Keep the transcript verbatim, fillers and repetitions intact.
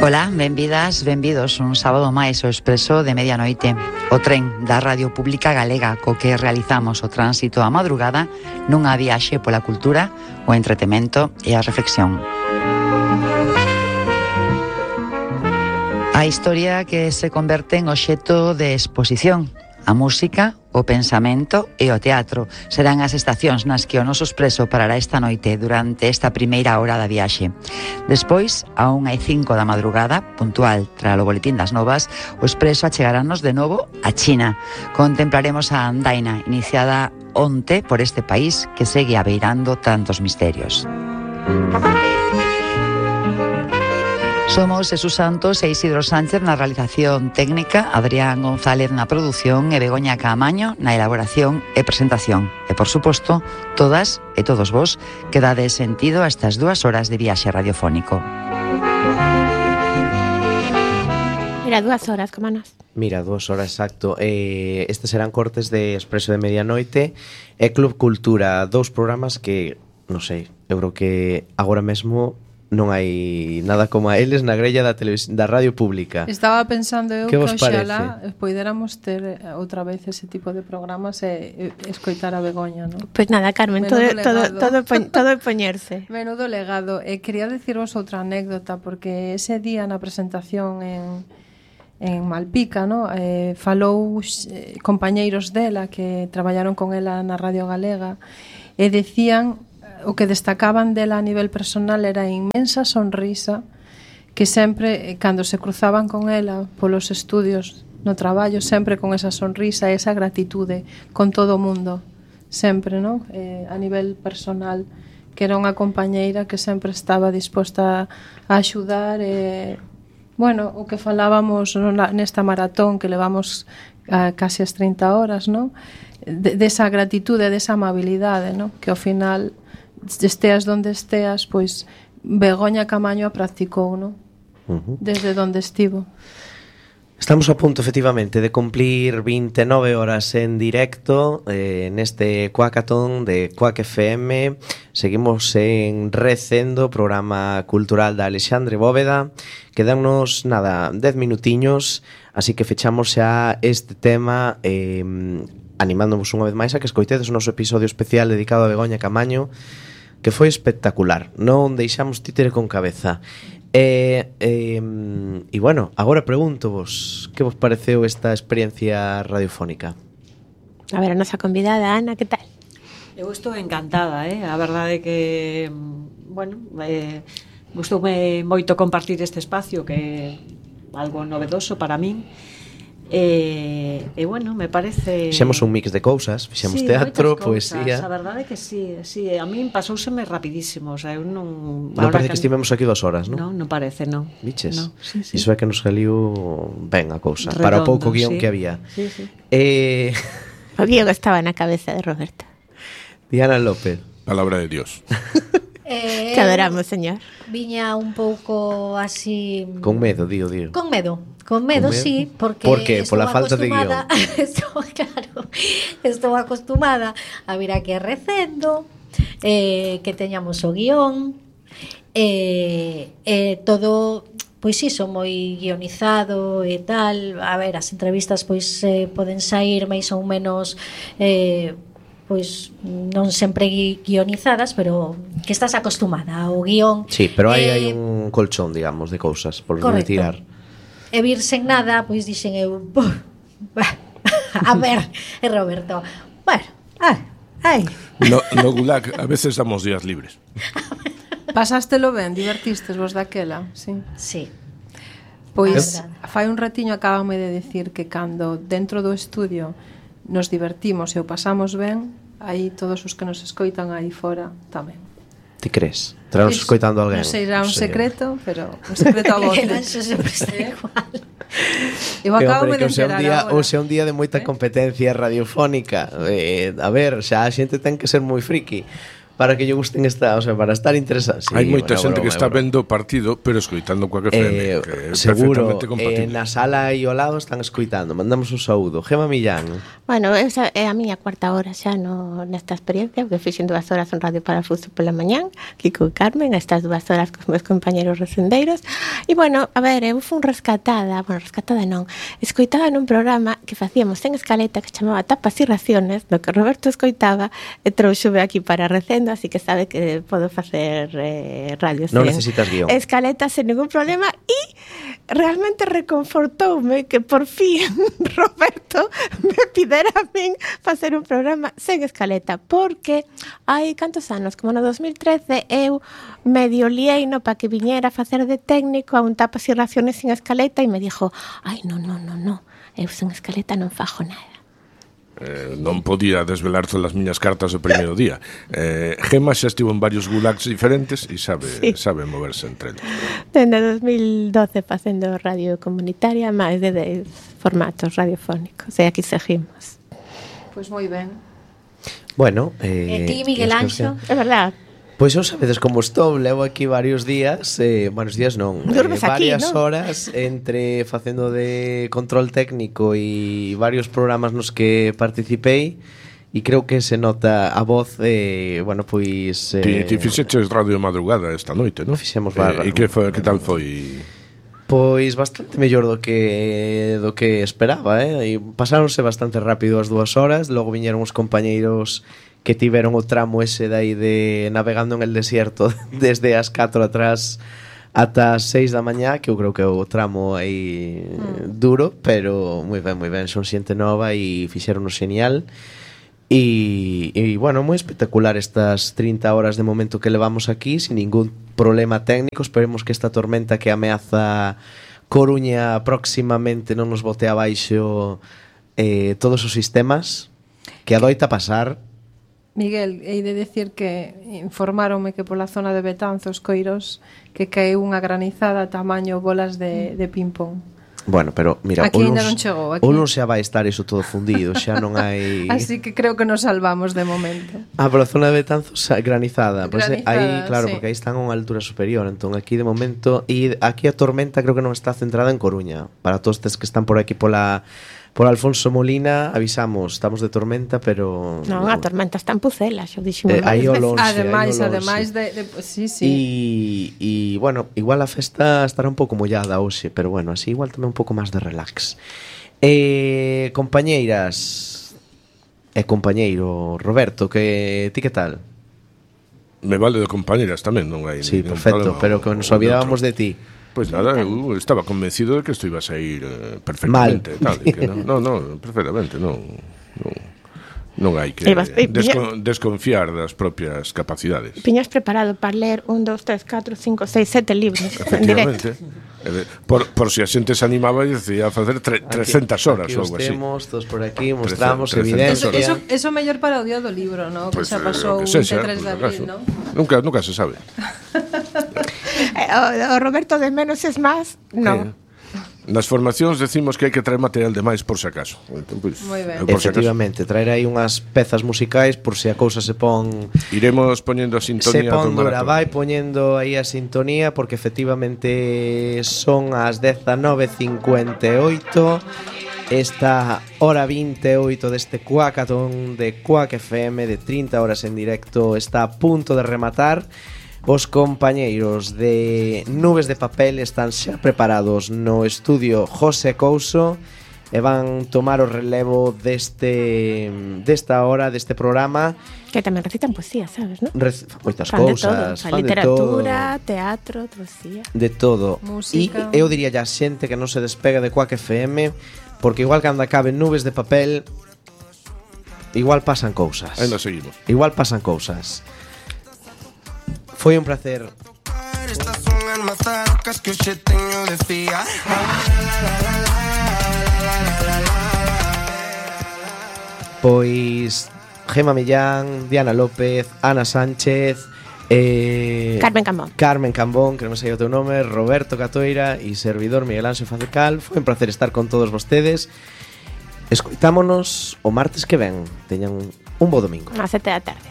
Ola, benvidas, benvidos un sábado máis ao Expreso de Medianoite. O tren da Radio Pública Galega co que realizamos o tránsito á madrugada nunha viaxe pola cultura, o entretemento e a reflexión. A historia que se converte en obxecto de exposición. A música, o pensamento e o teatro serán as estacións nas que o noso Expreso parará esta noite durante esta primeira hora da viaxe. Despois, a unha e cinco da madrugada, puntual tras o boletín das novas, o Expreso achegarános de novo a China. Contemplaremos a andaina iniciada onte por este país que segue abeirando tantos misterios. Somos Jesús Santos e Isidro Sánchez na realización técnica, Adrián González na produción e Begoña Caamaño na elaboración e presentación. E, por suposto, todas e todos vos que dades sentido a estas dúas horas de viaxe radiofónico. Mira, dúas horas, como nos. Mira, dúas horas, exacto. Eh, estes serán cortes de Expreso de Medianoite e Club Cultura, dous programas que, non sei, eu creo que agora mesmo non hai nada como a eles na grella da televisión, da radio pública. Estaba pensando eu que, que oxalá poidéramos ter outra vez ese tipo de programas e, e escoitar a Begoña, non? Pois pues nada, Carmen, todo, todo, todo, todo é poñerse. Menudo legado. E quería dicirvos outra anécdota, porque ese día na presentación en, en Malpica, no? eh, falou eh, compañeiros dela que traballaron con ela na Radio Galega e decían o que destacaban dela a nivel personal era a inmensa sonrisa que sempre, cando se cruzaban con ela polos estudios no traballo, sempre con esa sonrisa e esa gratitude con todo o mundo, sempre, non? Eh, a nivel personal, que era unha compañeira que sempre estaba disposta a axudar e, bueno, o que falábamos nesta maratón que levamos a casi as trinta horas, non? De, desa gratitude, desa amabilidade, non? Que ao final esteas donde esteas, pois Begoña Caamaño a practicou, non? Uh-huh. Desde donde estivo. Estamos a punto, efectivamente, de cumplir vinte e nove horas en directo eh, neste Cuacatón de Cuac F M. Seguimos en Recendo, programa cultural da Alexandre Bóveda. Quedannos, nada, dez minutiños, así que fechamos xa este tema eh, animándonos unha vez máis a que escoitedes o noso episodio especial dedicado a Begoña Caamaño, que foi espectacular, non deixamos títere con cabeza. E, e, e bueno, agora pregúntovos, que vos pareceu esta experiencia radiofónica? A ver, a nosa convidada, Ana, que tal? Eu estou encantada, eh? A verdade é que, bueno, eh, gustoume moito compartir este espacio, que é algo novedoso para min. E, e bueno, me parece... Fixemos un mix de cousas, fixemos sí, teatro, cousas, poesía. A verdade é que sí, sí, a min pasouseme rapidísimo, o sea, eu non... Non parece que, que estivemos aquí dos horas, non? Non, non parece, non. Viches? No, sí, sí. Iso é que nos saliu ben a cousa, redondo, para o pouco guión sí. que había. Sí, sí. Eh... O guión estaba na cabeza de Roberta. Diana López. Palabra de Dios. Eh, Te adoramos, señor. Viña un pouco así... Con medo, digo, digo. Con medo, con medo, con medo? Sí, porque... Por que? Por la falta de guión. Estou, claro, estou acostumada a vir aquí a Recendo, eh, que teñamos o guión, eh, eh, todo... Pois iso, moi guionizado e tal. A ver, as entrevistas pois eh, poden sair máis ou menos... Eh, pois non sempre guionizadas, pero que estás acostumada ao guión. Sí, pero aí eh, hai un colchón, digamos, de cousas por correcto. Retirar. E vir sen nada, pois dixen eu, a ver, e Roberto, bueno, ai, ai. No, no Gulag, a veces damos días libres. Pasástelo ben, divertistes vos daquela, sí. Sí. Pois fai un ratiño acabame de decir que cando dentro do estudio nos divertimos e o pasamos ben, aí todos os que nos escoitan aí fora tamén. Ti crees? Tranos escoitando alguén? Non sei, era un secreto, pero un secreto a voces. Eso sempre está igual. Eu acabo de enterar agora. Ou sea un día de moita ¿Eh? competencia radiofónica. Eh, a ver, xa a xente ten que ser moi friki para que lle gusten esta, o sea, para estar interesados. Sí, hai moita bueno, xente broma, que está broma. vendo o partido, pero escoitando coa que F M, eh, que é seguro, perfectamente eh, compatible. na sala aí ao lado están escoitando. Mandamos un saúdo. Gema Millán. Bueno, esa é a miña cuarta hora xa no, nesta experiencia, porque fixen dúas horas en Radio Parafuso pola mañán, aquí con Carmen, estas dúas horas con meus compañeros recendeiros, E bueno, a ver, eu fui rescatada, bueno, rescatada non, escoitada nun programa que facíamos en escaleta que chamaba Tapas e Raciones, do que Roberto escoitaba e trouxome aquí para Recendo, así que sabe que podo facer eh, radio Non sen necesitas guión. escaleta sen ningún problema e realmente reconfortoume que por fin Roberto me pidera a min facer un programa sen escaleta, porque hai cantos anos, como no dos mil trece, eu medio lieino para que viñera a facer de técnico a un Tapas e Raciones sin escaleta e me dixo, ai, non, non, non, non, eu sen escaleta non fajo nada. Eh, non podía desvelar todas as miñas cartas o primeiro día. Eh, Gema xa estivo en varios gulags diferentes e sabe, Sí. sabe moverse entre eles. Dende dos mil doce facendo radio comunitaria, máis de dez formatos radiofónicos, e aquí seguimos. Pois moi ben. Bueno, eh, E ti, Miguel Anxo? É verdad. Pois eu sabedes como estou, levo aquí varios días, eh, varios días non, Durmes eh, aquí, varias non? horas entre facendo de control técnico e varios programas nos que participei e creo que se nota a voz, eh, bueno, pois... Ti, Eh, ti fixeches radio de madrugada esta noite, non? Fixemos barra. Eh, e que, foi, que tal foi? Pois bastante mellor do que do que esperaba, eh? E pasáronse bastante rápido as dúas horas, logo viñeron os compañeiros que tiveron o tramo ese dai de navegando en el desierto desde as catro atrás ata as seis da mañá, que eu creo que é o tramo aí mm. duro, pero moi ben, moi ben, son xente nova e fixeron genial. E, e bueno, moi espectacular estas trinta horas de momento que levamos aquí sin ningún problema técnico. Esperemos que esta tormenta que ameaza Coruña próximamente non nos bote abaixo eh, todos os sistemas, que adoita pasar. Miguel, hei de decir que informáronme que pola zona de Betanzos, Coirós, que caeu unha granizada tamaño bolas de, de ping-pong. Bueno, pero mira, Aquí o ainda luns, non chegou, aquí. o luns xa vai estar iso todo fundido, xa non hai... Así que creo que nos salvamos de momento. Ah, pola zona de Betanzos granizada, pois pues, Granizada, aí, claro, sí. porque aí están a unha altura superior, entón aquí de momento, e aquí a tormenta creo que non está centrada en Coruña. Para todos estes que están por aquí pola por Alfonso Molina, avisamos, estamos de tormenta, pero Non, a tormenta está en Pucela, xo dixemos Eh, aí varias o veces. lonxe, Ademais, aí o lonxe. ademais de, de sí, sí. E, e bueno, igual a festa estará un pouco mollada hoxe, pero bueno, así igual tamén un pouco máis de relax. Eh, compañeiras e compañeiro Roberto, que ti que tal? Me vale de compañeras tamén, non hai Sí, ningún perfecto, problema. pero que nos olvidábamos de ti. Pois pues nada, eu estaba convencido de que isto iba a sair eh, perfectamente. Tal, e que non, non, non, perfectamente, non, non, non hai que Ibas- e- desco, desconfiar das propias capacidades. Piñas preparado para ler un, dos, tres, catro, cinco, seis, sete libros en directo. Efectivamente. Eh, Por, por si a xente se animaba e decía facer tre, trescentas horas aquí ou os algo así. temos, todos por aquí, mostramos trescentas Eso, evidencia. eso, eso mellor para o día do libro, ¿no? Pues, que xa eh, pasou o que sexa, veintitrés de por abril, acaso. ¿no? Nunca, nunca se sabe. Eh, o, o Roberto de menos es más, no. Eh, Nas formacións decimos que hai que traer material de máis por si acaso. Entón, pues, Moi ben. eu por si acaso. Efectivamente, traer aí unhas pezas musicais por se si a cousa se pon Iremos poñendo a se sintonía do pon dura, maratón. vai poñendo aí a sintonía porque efectivamente son as dezanove cincuenta e oito. Esta hora veintiocho deste Cuacatón de Cuac F M de trinta horas en directo está a punto de rematar. Os compañeiros de Nubes de Papel están xa preparados no estudio José Couso e van tomar o relevo deste desta hora, deste programa. Que tamén recitan poesía, sabes, non? Rec- moitas Fan de todo, cousas, fan fan de literatura, todo. teatro, poesía. De todo. Música. E eu diría a xente que non se despega de Cuac F M, porque igual cando acabe Nubes de Papel, igual pasan cousas. Ainda seguimos. Igual pasan cousas. Foi un placer. Estas son as mazarcas que hoxe teño de fía. Pois Gema Millán, Diana López, Ana Sánchez, eh, Carmen Cambón. Carmen Cambón, que non me sei o teu nome, Roberto Catoira e servidor Miguel Anxo Facecal. Foi un placer estar con todos vostedes. Escoitámonos o martes que ven. Teñan un bo domingo. A sete da tarde.